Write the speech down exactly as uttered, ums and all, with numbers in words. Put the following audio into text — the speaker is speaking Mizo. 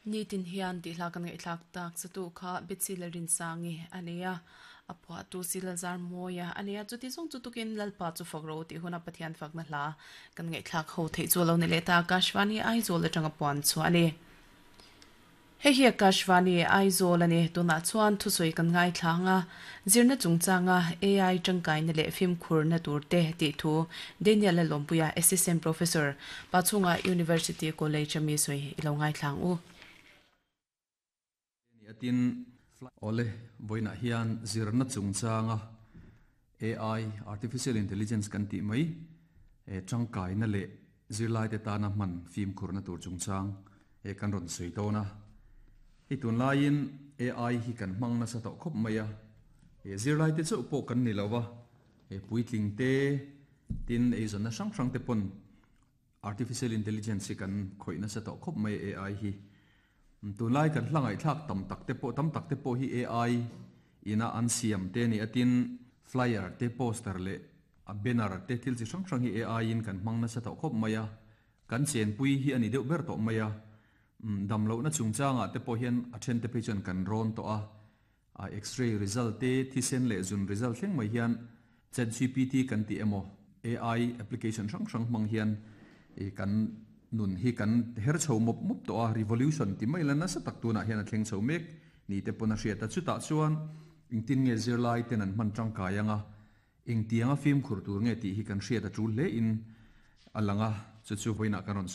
Nitin hian tih hla kan ngaihthlak tak satu kha Betsy Lalrinsangi ania a phuahtu Silazar Mawia ania chuti zawng chu tukin Lalpa chu fak ro tih huna Pathian fakna hla kan ngaihthlak ho theih chu lo ni leh ta Akashvani Aizawl atanga puan chu ani. Hei hi Akashvani Aizawl ani tunah chuan thusawi kan ngaithlanga zirna chungchanga A I tangkaina leh fimkhurna tur te tih thu Daniel Lalawmpuia Assistant Professor Pachhunga University College ami sawi ilo ngaithlang u. Atin ole voina hian zirna chungchanga A I, artificial intelligence kan ti mai e tangkai na le zirlai te tana man fim khurna tur chungchang e kan ron sei to na hi. Tun laiin A I hi kan mang na sa to khop mai a e zirlai te chu po kan ni lawa e puitling te tin e zon na sang sang te pon artificial intelligence hi kan khoina sa to khop mai. A I hi tun lai kan hlangai thlak tam tak te po tam tak te po hi A I ina an siam te ni. Atin flyer te, poster le a banner te, thil chi hrang hrang hi A I in kan hmang na sa to khop mai a, kan chen pui hi ani deuh ber to mai a. Dam lo na chungchanga te pawh hian a then te phei chuan kan rawn to a a x-ray result te, thisen leh zun result thleng mai hian Chat G P T kan ti emaw A I application hrang hrang hmang hian e kan nun hi kan her chho mop mop to a. Revolution ti mai la nasa tak tuna hian a thleng chho mek ni te pawh na hriat a. Chutah chuan engtin nge zirlai ten an hman tangkai anga, engtianga fim khur tur nge tih hi kan hriat a tul hle in alanga chu chu voina kan ron.